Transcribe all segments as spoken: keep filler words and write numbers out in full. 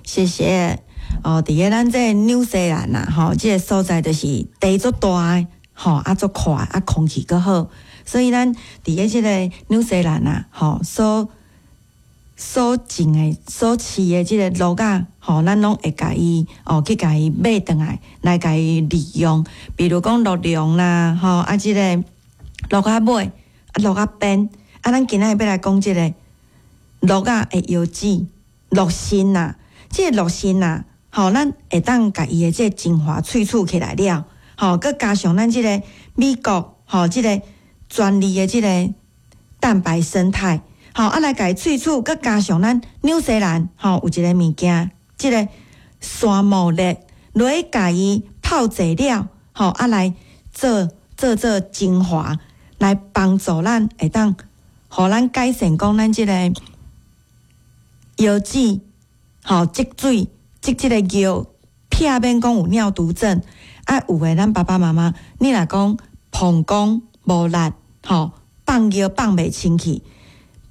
謝謝。哦，佇個咱這個紐西蘭啊，吼，這個所在就是地足大的，吼，啊足闊，啊空氣閣好，所以咱佇個這個紐西蘭啊，吼，所所種的、所飼的這個鹿仔，吼，咱攏會共伊哦去共伊買轉來，來共伊利用。比如講鹿茸啦，吼，啊這個鹿仔尾、啊鹿仔鞭，啊，咱今仔日欲來講這個鹿仔的藥籽、鹿腎啊，這個鹿腎啊，吼，咱會當共伊的這個精華萃取起來了，吼，閣加上咱這個美國吼，這個專利的這個蛋白胜肽，吼，啊來共伊萃取，閣加上咱紐西蘭吼有一個物件，這個山苜蓙落去共伊泡製了，吼，啊來做做做精華，來幫助咱會當，予咱改善講咱這個腰子吼積水。積這個尿，避免講有尿毒症。啊，有的咱爸爸媽媽，你若講膀胱無力，吼，放尿放袂清氣，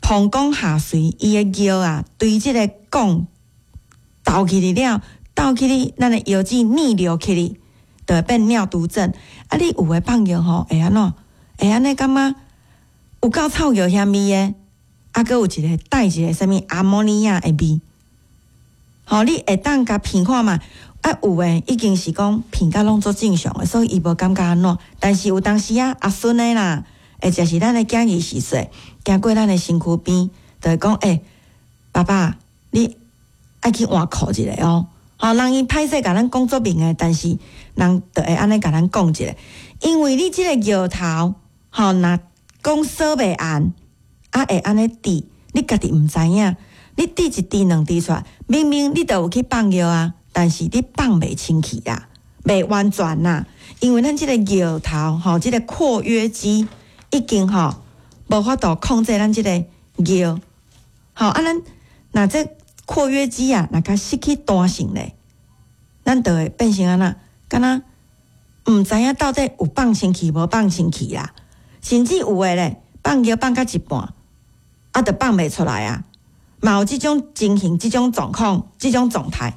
膀胱下垂，伊的尿啊，對這個管兜起去了，兜起去，咱的腰子逆流起去，就會變尿毒症。啊，你有的放尿吼，會按怎？會按呢感覺有夠臭尿腥味的，啊，閣有一個帶一個啥物阿摩尼亞的味。吼，你會當共鼻看覓，啊，有的已經是講鼻甲攏足正常的，所以伊無感覺按怎。但是有當時啊，阿孫的啦，或者是咱的囝兒時歲，行過咱的身軀邊，就會講：欸，爸爸，你愛去換褲一下哦。吼，人伊歹勢共咱講足明的，但是人就會按呢共咱講一下，因為你這個尿頭，吼，若講掃袂絚，啊會按呢滴，你家己毋知影。你滴一滴兩滴出來，明明你都有去放尿啊，但是你放袂清氣啊，袂完全啦。因為咱這個尿頭吼，這個括約肌已經吼無法度控制咱這個尿。吼啊，咱若這括約肌啊，若較失去彈性咧，咱就會變成按怎，敢若毋知影到底有放清氣無放清氣啦。甚至有的咧，放尿放到一半，啊，就放袂出來啊。嘛有這種情形、這種狀況、這種狀態。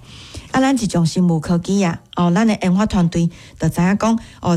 啊，咱這種生物科技啊，哦，咱的研發團隊就知影講，哦。